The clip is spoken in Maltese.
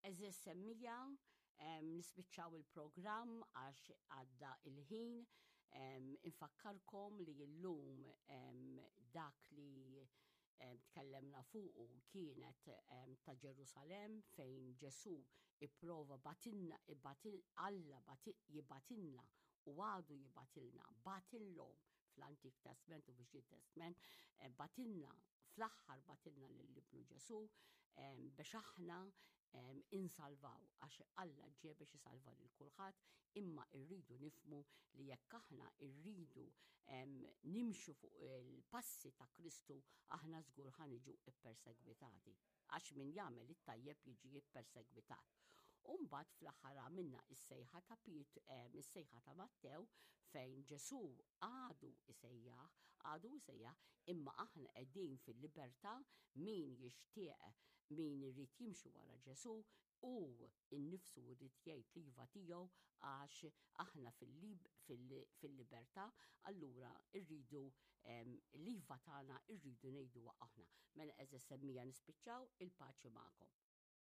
Għeżież semmiegħa, nispiċċaw il-programm għax għadda il-ħin. Infakkarkom li llum dak li tkellemna fuqu kienet ta' Ġerusalemm fejn Ġesù ipprova batilna, Alla jibatilna u għadu jibatilna, batilhom fl-Antik Testment u fil-Ġdid Testment, eh, batilna, fl-aħħar batilna lil ibnu Ġesù eh, biex aħna eh, insalvaw għax Alla ġie biex isalva lil kulħadd, imma rridu nifmu li jekk aħna rridu nimxu fuq il-passi ta' Kristu aħna żgur ħa niġu ippersegwitati għax min jagħmel it-tajjeb jiġi ppersegwitat. U mbagħad fl-aħħar għamilna is-sejħa ta' Piet, eh, is-sejħa ta' Mattew fejn Ġesù għadu isejjaħ, għadu isejjaħ, imma aħna qegħdin fil-libertà min jixtieq min irid jimxi wara Ġesù u innifsu jrid jgħid l-iva tiegħu għax aħna fil-libertà, allura rridu l-iva tagħna rridu ngħiduha aħna. Mela għeżież semmiegħa nispiċċaw il-paċi magħkom.